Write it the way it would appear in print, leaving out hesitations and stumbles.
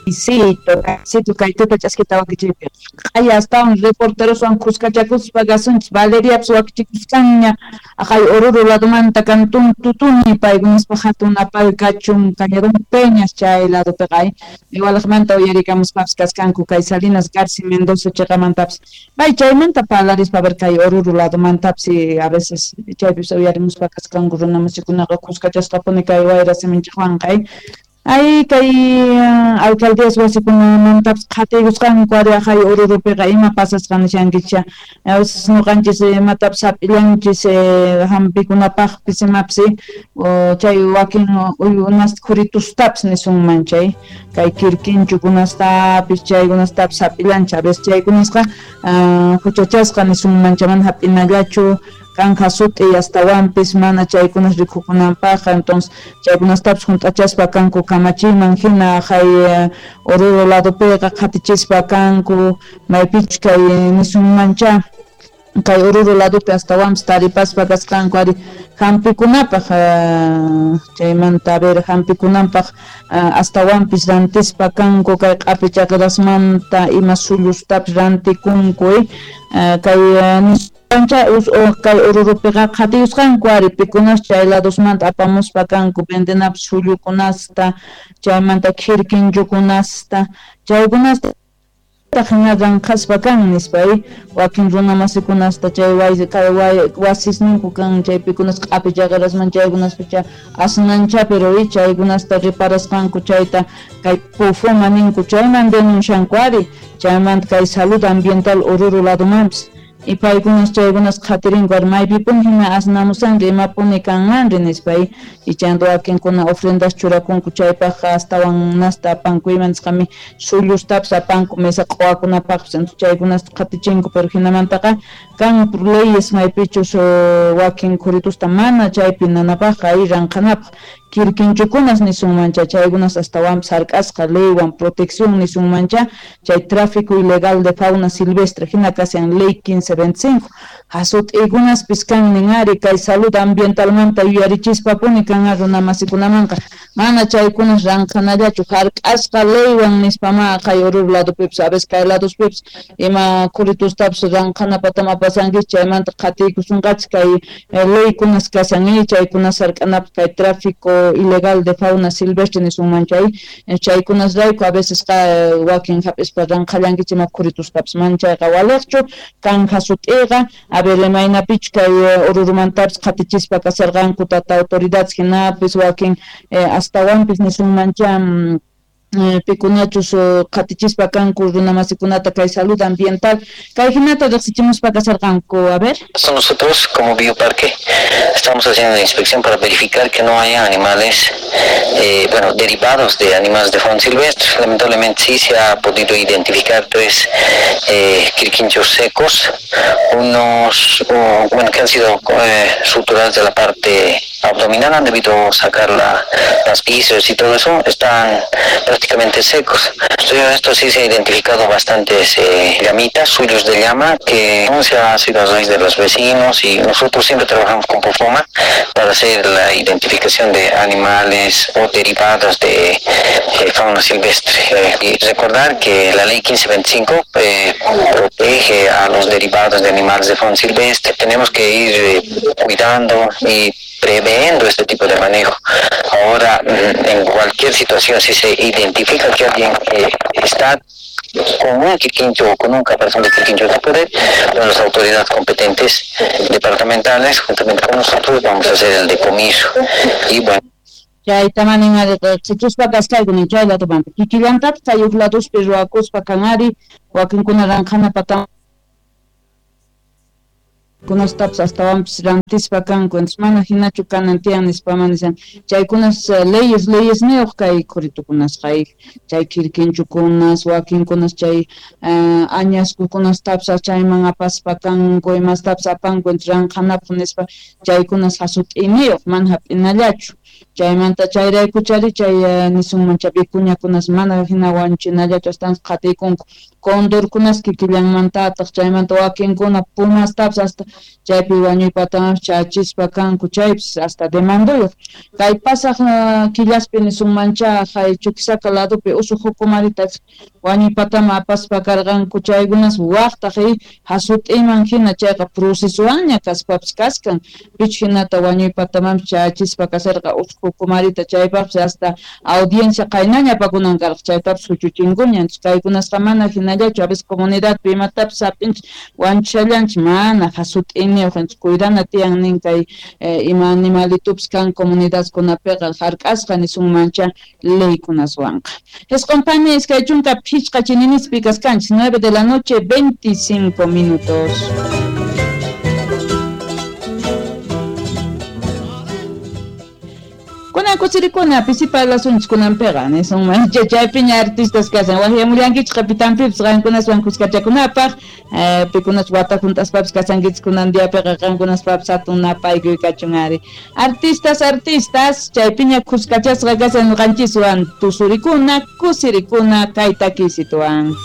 Cito, kay tuta ch'askita wakichiypi q'aya astawan reporteroswan khuskachakuspa kasunchis. Valeriapas wakichikusqanña aqay Oruro ladomanta cantón Tutuni, paykunaspaq hatun napal kachun Cañadón Peñas chay ladopiqa ay igualaqmanta uyarikamuspapas kaskanku kay Salinas Garci Mendoza chiqamantapas may chaymanta parlarispa a ver kay Oruro ladomantapis a veces chaypis uyarimuspa kaskanku runa masikunaqa khuskachasqapuni kay wayra siminchikwanqa ay. Ay kay alcaldías wasikunamantapas qhatiykusqanku ari aqay Orurupiqa ima pasasqa nishankicha. A veces ñuqanchis imatapas hap'illanchis hampikunapaqpis imapis chay wakin uywunasta khuritustapis nisunman chay kay kirkinchukunastapis chaykunastapis hap'illanchis a veces chaykunasqa huchachasqa nisunman chay mana hap'inallachu kanja sut'i astawanpis mana chaykunas rikukunanpaqqa. Entonces chaykunastapis hunt'achaspa kanku kamachiyman hina aqay Oruro ladopiqa qhatichispa kanku maypichus kay nisunmancha kay Oruro ladopi astawanpis taripaspa kasqanku ari hampikunapaq chaymanta a ver hampikunanpaq astawanpis rantispa kanku kay q'api chaqirasmanta ima sullustapis rantikunku kay kay Orurupiqa qhatiyusqanku ari pikunas chay ladosmanta apamuspa kanku vendenapis sullukunasta chaymanta khirkinchukunasta chaykunasta hina ranqhaspa kan nispa wakin runa masikunasta chay kay wasisninku kan chaypikunas q'api chaqirasman chaykunaspi asnancha pero chaykunasta reparasqanku chayta kay pufoma ninku chayman denuncianku ari chaymanta kay salud ambiental Oruro ladomanpis y paykunas chaykunas qhatirinku ari maypipuni hina asnamusanri imapuni kanmanri nispa y chayanta wakinkuna ofrendas churakunku chaypaqqa astawan nasta apanku ima nisqami sullustapis apanku mesa q'uwakunapaqpis entonces chaykunasta qhatichinku pero hinamantaqa kan leyes maypichus wakin khuritusta mana chaypi nanapaqqa ay ranqhanapaq kirkinchukunas nisunmancha chaykunas astawanpis hark'asqa leywan protección nisunmancha chay tráfico ilegal de fauna silvestre hina kashan ley 1525 hasut'ikunaspis kan nin ari kay salud ambientalmanta yuyarichispapuni kan runa masikunamanqa mana chaykunas ranqhanallachu hark'asqa leywan nispama kay Oruro ladopipis a veces kay ladospipis ima khuritustapis ranqhanapatama apasankichis chaymanta qhatiykusunqachis kay leykunas kashan chaykunas hark'anapaq kay tráfico ilegal de fauna silvestre nisunman chay chaykunasrayku a veces wakin hap'ispa ranqhallankichis ima khuritustapis mana chayqa waliqchu kan hasut'iqa a ver imaynapichu kay Orurumantapis qhatichispa kasharqanku tata autoridades hinapis wakin astawanpis nisunmancha pikunachus qhatichispa kanku runa masikunata kay salud ambiental kay hinata riqsichimuspa kasharqanku a ver. Nosotros como Bioparque estamos haciendo una inspección para verificar que no haya animales derivados de animales de fauna silvestre. Lamentablemente sí se ha podido identificar 3 quirquinchos secos, unos que han sido suturados de la parte abdominal, han debido sacar las vísceras y todo eso, están prácticamente secos. Esto sí se ha identificado bastantes llamitas, suyos de llama, que se ha sido a raíz de los vecinos, y nosotros siempre trabajamos con Pofoma para hacer la identificación de animales o derivados de fauna silvestre. Y recordar que la ley 1525 protege a los derivados de animales de fauna silvestre. Tenemos que ir cuidando y previendo este tipo de manejo. Ahora, en cualquier situación, si se identifica que alguien está con un quirquincho o con un caparazón de quirquincho de poder, bueno, las autoridades competentes departamentales, juntamente con nosotros, vamos a hacer el decomiso. Y bueno. Chayta manin ari qichuspa kasqayku nin chay ladomanta kikillantapis chay huk ladospi ruwakuspa kan ari wakinkuna ranqhanapata kunastapis astawanpis rantispa kanku entonces mana hinachu kanan tiyan nispa mana nishan chaykunas leyes leyesniyuq kay khuritukunasqa chay kirkinchukunas wakinkunas chay añaskukunastapis chayman apaspa kanku imastapis apanku entonces ranqhanapaq nispa chaykunas hasut'iniyuq mana hap'inallachu. Chaymanta chayraykuchari chay nisunmancha vicuñakunas mana hina wañuchinallachu astawan qhatiykunku condorkunas kikillanmantataq chaymanta wakinkuna pumastapas hasta chaypi wañuypatamanpas chachispa kanku chaypis hasta demanduyuq. Kay pasaq killaspi nisunmancha hay Chuquisaca ladopi usu jukumarita wañuypataman apaspa karqanku chaykunas waqtaq hasut'iman hina chayqa procesowanña kaspapas kaskan pichu hinata wañuypatamanpas chachispa kasharqa usu jukumarita chaypaqpas hasta audiencia qaynaña apakunan karqa chaytapas huchuchinkuña. Entonces kaykunasqa mana hinallachu a veces comunidadpi imatapas hap'inchik wañuchishallanchik mana hasut'iniyuq. Entonces cuidana tiyan nin kay ima animalitupas kan comunidadkunapiqa hark'asqa nisunmancha leykunaswanqa. Isqun pani 25 chininispi kaskanchik 9 de la noche 25 minutos. Kunan kusirikuna pisipa lasunchik kunanpiqa nisunmancha chaypiña artistas kasan waqyamullankichik qapitanpipas qankunaswan kuskachakunapaq pikunas wata hunt'aspapas kasankichik kunan diapiqa qankunaspapas hatun napaykuy kachun ari. Artistas, artistas chaypiña kuskachasqa kasan ñuqanchiswan tusurikuna kusirikuna kay takisituwan.